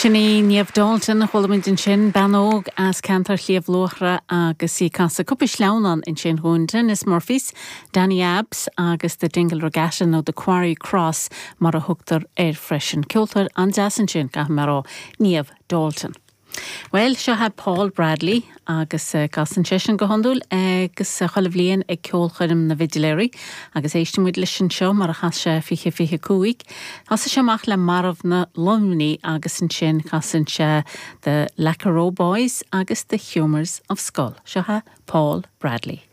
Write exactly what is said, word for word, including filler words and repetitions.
Sin í Niamh Dalton chuala muid ansin bean óg as ceantar Shliabh Luachra agus í ag casadh cúpla sleamhnán ansin dúinn Dennis Murphys, Danny Abs agus the Dingle Regatta nó the Quarry Cross mar a thugtar air freisin. Ceoltóir an-deas ansin caithfidh mé a rá Niamh Dalton. Well seo é Paul Bradley agus uh, casann seisean go hiondúil agus uh, chuile bhliain ag ceolchoirm na bhFidléirí agus éistfimid leis anseo mar a chas sé fiche fiche cúig. Thosaigh sé amach le Marbhna Luimnigh agus ansin casann sé the Lackeroe Boys agus the Humours of Schull. Seo é Paul Bradley.